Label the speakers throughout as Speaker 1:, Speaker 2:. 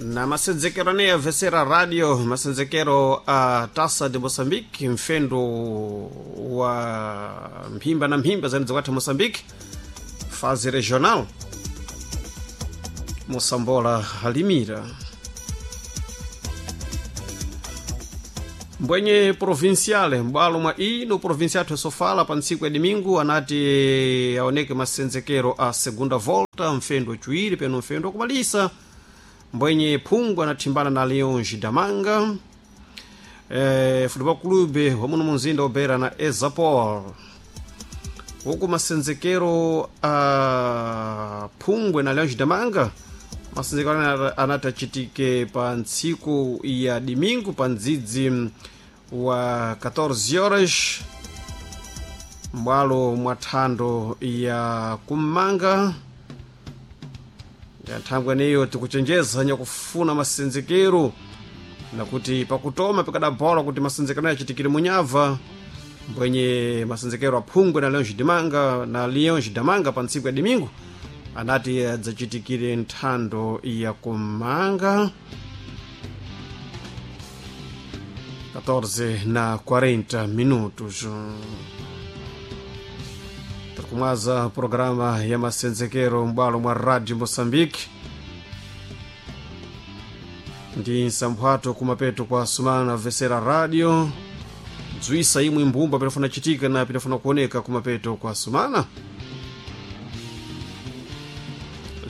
Speaker 1: Na masenzekero ane avesera radio, masenzekero a Taça de Moçambique, mfendo wa mphimba na mphimba zene zikwatha Moçambique, fase regional, Moçambola alimira mbwenye provinciale m'bwalo mwa ino provincia athu sofala pa ntsiku ya domingo anati aoneke masenzekero a segunda volta, mfendo waciwiri peno mfendo wakumalisa. Mbwenye Phungu anathimbana na Leões Damanga, Futebol Clube wamuno munzinda obera na Ezapol. Huku masenzekero a Phungwe na Leões Damanga, masenzekero anati achitike pa ntsiku ya domingo pa ndzidzi wa 14 horas m'bwalo mwa thando ya kummanga ya nthangwe eneyo. Tikuchenjeza nyakufuna masenzekero nakuti pakutoma pikadabola kuti masenzekero achitikire munyava. Mbwenye masenzekero aphungwe na Leões Dimanga na Leões Damanga pa ntsiku ya domingo anati adzachitikire nthando ya kumanga 14 na 40 minutos. Tirikumwaza programa ya masenzekero m'bwalo mwa Radio Moçambique ndi nsamphwato kumapeto kwa sumana vesera radio dzwisa imwe mbumba pinafuna chitika na pinafuna kuoneka kumapeto kwa sumana.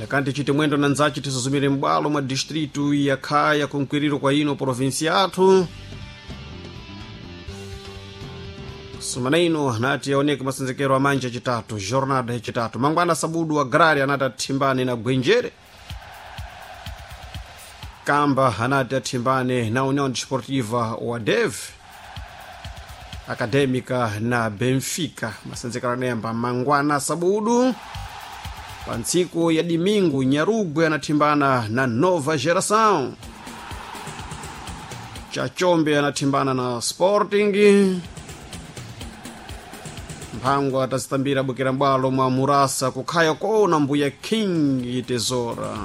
Speaker 1: Lekani tichite mwendo na nzachi, tisuzumire m'bwalo mwa distritu ya Khaya kunkwiriro kwa ino provinsi yathu. Sumana ino anati aoneke masenzekero amanja chitatu, jornada yachitatu, mangwana sabudu agrari anati athimbane na Gwenjere. Kamba anati athimbane na União Desportiva wa Dev, Acadêmica na Benfica. Masenzekero anayamba mangwana sabudu. Pa ntsiku ya dimingu Nyarugwe anathimbana na Nova Geração, Chachombe anathimbana na Sporting. Mphangwa atazitambira bwekera m'bwalo mwa Murasa kukhaya kona mbuya King Tesora.